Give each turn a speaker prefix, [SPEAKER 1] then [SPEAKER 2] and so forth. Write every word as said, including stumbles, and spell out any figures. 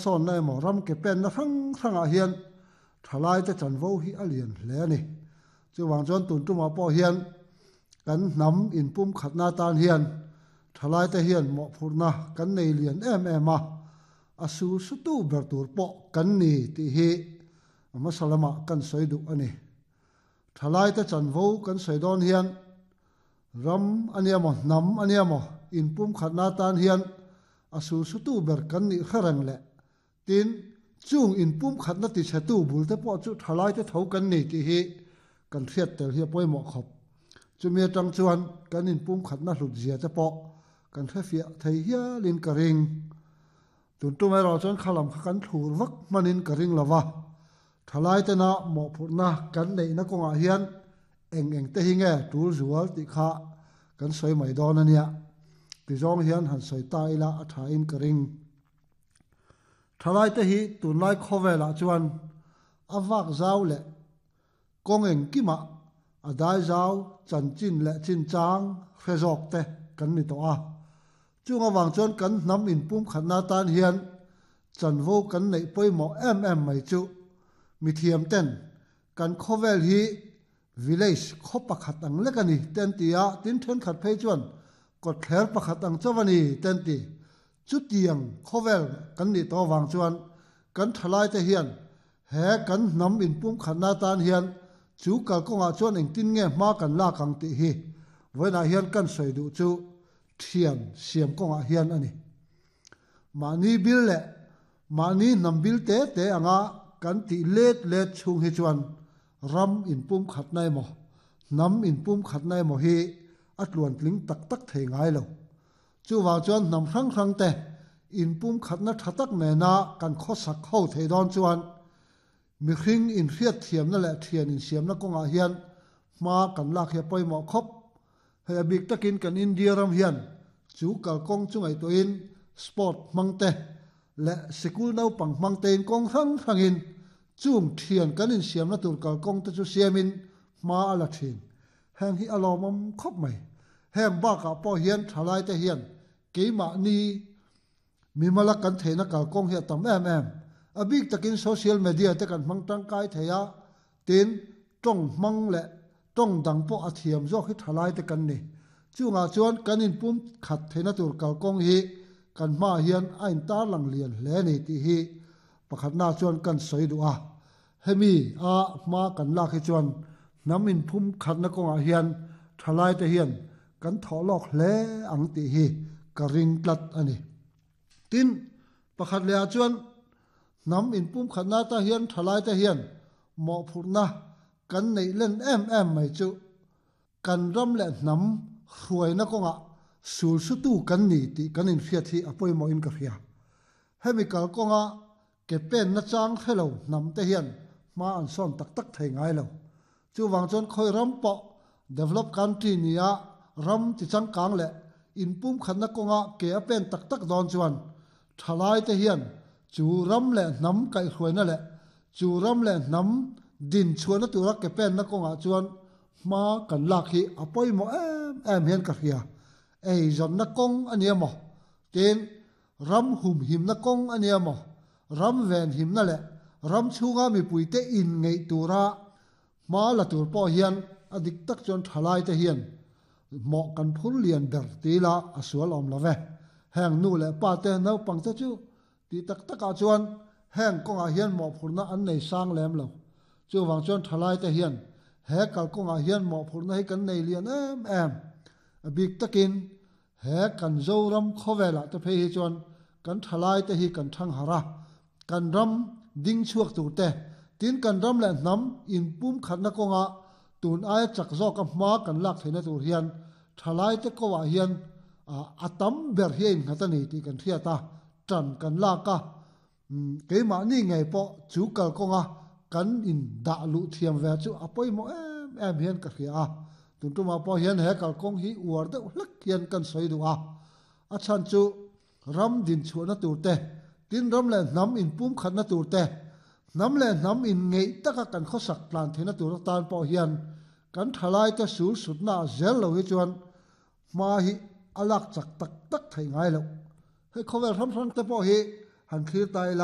[SPEAKER 1] sawn na emaw ram ke pen na hrang hrangah hian thalai te chanvo hi a lian hle a ni. Chuwang chuan tun tumah pawh hian kan hnam inpum khatna tan hian thalai te hian mawhphurhna kan nei lian em em a, a su su tu ber tur pawh kan ni tih hi a hmasa lamah kan sawi duh a ni. Thalai te chanvo kan sawi dawn hian ram a nia maw hnam a nia maw inpum khatna tan hian a su su tu ber kan nih hre reng leh tin chung inpum khatna ti chhe tu bul te pawh chu thalai te tho kan ni tih hi kan hriat tel hi a pawimawh khawp. Chumi atang chuan kan inpum khatna hlut zia te pawh kan hre fiah thei hialin ka ring. Tun tum erawh chuan khalam kha kan thlur vak hmanin ka ring lova. Thalai tena mawhphurhna kan neihna kawngah hian eng eng te hi nge tul zual tih kha kan sawi mai dawn a nia. Tizawng hian han sawi ta ila a thain ka ring. Thalai te hi tunlai khawvelah chuan a vak zau leh kawng eng kimah a dai zau chanchin leh chin chang hre zawk te kan ni tawh a. Chung awang chuan kan hnam inpum khatna tan hian chanvo kan neih pawimawh em em mai chu mi thiam ten kan khawvel hi village khaw pakhat ang lek a ni ten ti a, tin thenkhat phei chuan kawtthler pakhat ang chaw a ni ten ti. Chutiang khawvel kan nih tawh awang chuan kan thalai te hian he kan hnam inpum khatna tan hian chu kalkawngah chuan engtin nge hma kan lak ang tih hi vawiinah hian kan sawi duh chu thian siam kawngah hian a ni. Mahni bil leh mahni hnam bil te te anga kan tih let let chhung hi chuan ram inpum khatna emaw hnam inpum khatna emaw hi a tluan tling tak tak thei ngai lo. Chuwang chuan hnam hrang hrang te inpum khatna tha tak nena kan khawsak ho thei dawn chuan mihring inhriat thiamna leh thian insiamna kawngah hian hma kan lak hi a pawimawh khawp. Hei a bik takin kan India ram hian chu kalkawng chu ngaihtuahin sport hmang te leh sikul naupang hmang tein kawng hrang hrangin chung thian kan insiamna tur kalkawng te chu siamin hma a la thin. Heng hi a lawmawm khawp mai. Heng bakah pawh hian thalai te hian keimahni mimala kan theihna kalkawng hi a tam em em. A bik takin social media te kan hmang tangkai thei a, tin tawng hmang leh tawng dang pawh a thiam zawk hi thalai te kan ni. Chungah chuan kan inpum khat theihna tur kalkawng hi kan hma hian a intar lang lian hle ni tih hi pakhatna chuan kan sawi duh a. Hemi a hma kan lak hi chuan hnam inpum khatna kawngah hian thalai te hian kan thawh lawk hle ang tih hi ka ring tlat a ni. Tin pakhat lehah chuan hnam inpum khatna ta hian thalai te hian mawhphurhna kan neih len em em mai chu kan ram leh hnam hruaina kawngah sul su tu kan ni tih kan inhriat hi a pawimawhin ka hria. Hemi kalkawnga ke pen na chang hrelo hnam te hian hma an sawn tak tak thei ngai lo. Chuwang chuan khawi ram pawh develop country nia ram ti changkang leh inpum khatna kawnga ke a pen tak tak dawn chuan thalai te hian chu ram leh hnam kaihhruaina leh chu ram leh hnam din chhuahna tura ke pen na kawngah chuan hma kan lak hi a pawimawh em em hian ka hria. Ei zawnna kawng a nia maw tin ram hum himna kawng a nia maw ram ven himna leh ram chhunga mipui te in ngeih tura hma la tur pawh hian a dik tak chuan thalai te hian mawh kan phur lian ber tila a sual awm love. Heng nu leh pa te naupang te chu ti tak takah chuan heng kawngah hian mawhphurhna an nei sang lem lo. Chuwang chuan thalai te hian he kalkawngah hian mawhphurhna hi kan nei lian em em. A bik takin he kan Zoram khawvelah te phei hi chuan kan thalai te hi kan thang har a, kan ram ding chhuak tur te tin kan ram leh hnam inpum khatna kawnga tun aia chak zawk a hma kan lak theihna tur hian thalai te kawah hian a tam ber hi a innghat a ni tih kan hriat a, tan kan lak a. Keimahni ngei pawh chu kalkawnga kan in dah luh thiam ve chu a pawimawh em em hian ka hria a. Tun tumah pawh hian he kalkawng hi uar deuh hlek hian kan sawi duh a. A chhan chu ram din chhuahna tur te tin ram leh hnam inpum khatna tur te hnam leh hnam in ngeih taka kan khawsak tlan theihna tur atan pawh hian kan thalai te sul sutna zel lo hi chuan hma hi a lak chak tak tak thei ngai lo. Hei khawvel ram hrang te pawh hi han thlir ta ila.